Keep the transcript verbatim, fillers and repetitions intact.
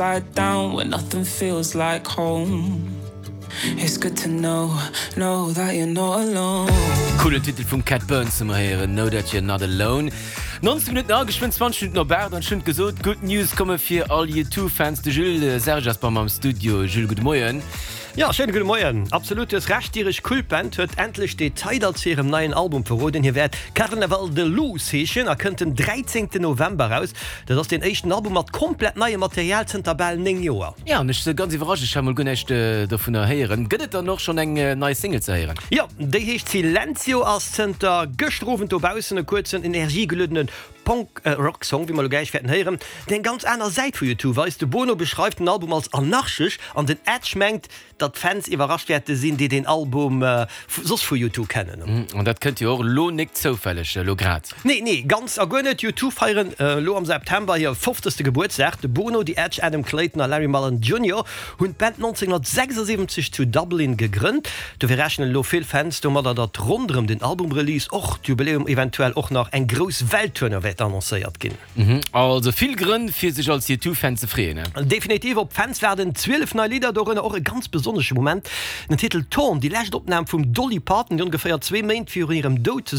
Upside down when nothing feels like home. It's good to know, know that you're not alone. Coolen Titel vum Cat Burns hu mer héieren, Know That You're Not Alone. Nonzéng Minutten a geschwënn zwanzeg Minutten op aacht an ech hunn gesot, Good News komme fir all U Two Fans. De Jules Serge ass bei mer am Studio. Jules, gudde Moien. Jo, schéine gudde Moien. Absolut, du hues Recht, d'Iresch Kultband huet endlech Detailer zu hirem neien Album verroden. Hie wäert Carnival de Lose heeschen a kënnt den dräizéngten November eraus. Dat ass deen éischten Album mat komplett neiem Material zënter bal néng Joer. Jo, an ech si ganz iwwerrascht, ech hat mol guer näischt dovunner héieren. Gëtt et dann och schonn eng nei Single ze héieren? Jo, déi heescht Silencio, ass zënter gëschter Owend dobaussen. E kuerzen, energiegeluedene Punk-Rock-Song, wéi mer elo gläich wäerten héieren, deen eng ganz aner Säit vu U Two weist. De Bono beschreift den Album als anarchesch an den Edge mengt, datt d'Fans iwwerrascht wäerte sinn, déi den Album soss vu U Two kennen. An dat kënnt jo och elo nik zoufälleg, elo grad. Nee, nee, ganz a guer net. U Two feieren elo am September hir fofzegste Gebuertsdag. De Bono, The Edge, Adam Clayton a Larry Mullen Junior hunn d'Band nonzénghunnertsechsasiwwenzeg zu Dublin gegrënnt. Dofir rechnen elo vill Fans domadder, datt ronderëm den Album-Release och d'Jubiläum eventuell och nach eng grouss Welttournée wäert annoncéiert ginn. Also vill Grënn fir sech als U Two Fan ze freeën. Definitiv, op d'Fans waarden zwielef nei Lidder, dorënner och e ganz besonnesche Moment, den Titel Torn, déi lescht Opnam vum Dolly Parton, déi ongeféier zwee Méint virun hirem Doud